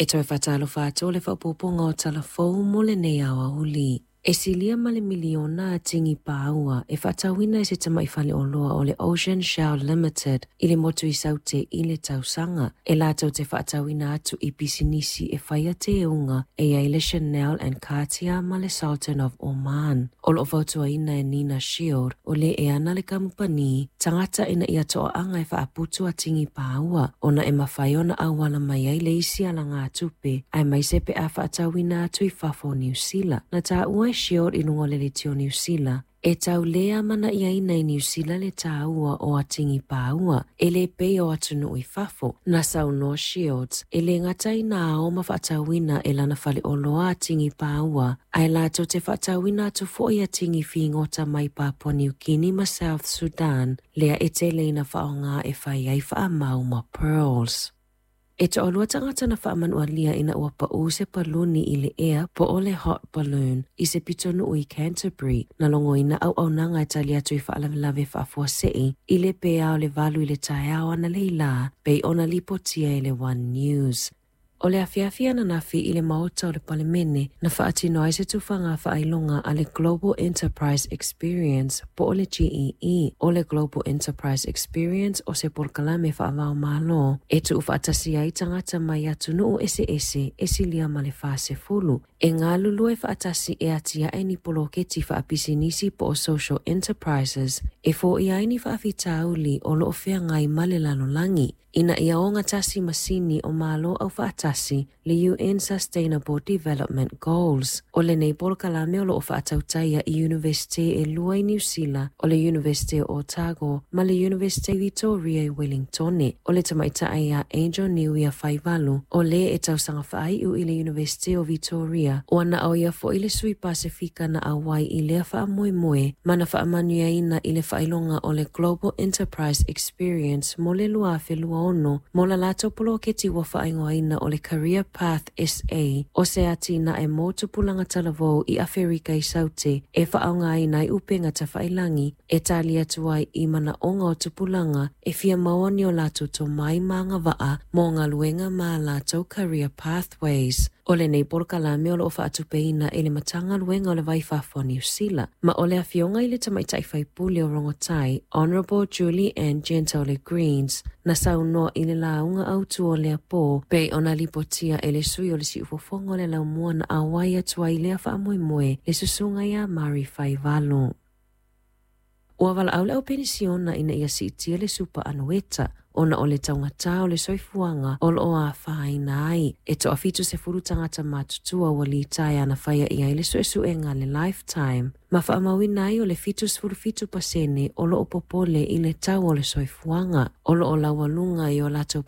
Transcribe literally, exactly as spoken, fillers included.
E toe faatalofa atu le faaopoopoga o Tala Fou mo lenei aoauli. E silia ma le miliona tini pāua e faatauina e se tamai faleoloa o le Ocean Shell Limited i le motu i Saute i le tausaga. E latou te faatauina atu i pisinisi e faia teuga e i ai le Chanel and Cartier ma le Sultan of Oman. O loo fautuaina e Nina Shield o le e ana le kamupani tagata ina ia toaaga e faaputu atigi pāua ona e mafai ona auala mai ai le isi alagatupe aemaise pe a faatauina atu i fafo o Niu Sila. Na taua e Shield i luga o le leitio Niu Sila e tau le amanaiaina i Niu Sila le tāua o atigi pāua e le pei o atunuu i fafo. Na saunoa Shields e le gata ina ao ma faatauina e lana faleoloa atigi pāua ae latou te faatauina atu foi atigi figota mai Papua New Guinea ma South Sudan lea e tele ina faaaoga e fai ai faamau ma pearls. E toalua tagata na faamanualia ina ua pau se paluni i le ea po o le hot balloon i se pitonuu i Canterbury na logoina auaunaga e tali atu i faalavelave faafuasei i le pea o le valu i le taeao analeila pei ona lipotia e le One News. O le afiafi ananafi i le maota o le Palemene na faatino ai se tufaga faailoga a le Global Enterprise Experience po o le G E E. O le Global Enterprise Experience o se polokalame faava-o-Malo e tuufaatasi ai tagata mai atunuu eseese e silia ma le fasefulu e galulue faatasi e atiae ni poloketi faapisinisi po o social enterprises e foia ai ni faafitauli o loo feagai ma le lalolagi ina ia ogatasi ma sini o Malo Aufaatasi le U N Sustainable Development Goals. O lenei polokalame o loo faatautaia i Universite e lua i Niu Sila, o le University o Otago ma le University Victoria i Wellingtone. O le tamaitai ia Angel Niuia Faivalu, o le e tausaga faaiu i le University o Victoria, ua na o ia foi le sui Pasefika na auai i lea faamoemoe ma na faamanuiaina i le faailoga o le Global Enterprise Experience mo le lua afe lua ono mo la latou poloketi ua faaigoaina o le Career Path S A, o se atinae mo tupulaga talavou i Aferika i Saute e faaaogaina ai upega tafailagi e tali atu ai i manaoga o tupulaga e fia maua ni o latou tomai ma agavaa mo galuega ma latou career pathways. O lenei polokalame o loo faatupeina e le Matagaluega o le Va i Fafo a Niu Sila, ma o le afioga i le tamaitai faipule o Rongotai, Honourable Julie Anne Genter o le Greens, na saunoa i le lauga autu o lea po pei ona lipotia e le sui o le Siufofoga o le Laumua na auai atu ai lea faamoemoe le susuga ia Mari Faivalu. Ua valaau le au penisiona ina ia siitia le supa anueta ona o le taugatā o le soifuaga o loo afaina ai. E toafitu sefulu tagata matutua ua litaea na faia i ai le suesuega le Lifetime ma faamauina ai o le fitu sefulu fitu pasene o loo popole i le tau o le soifuaga o loo laualuga i o latou.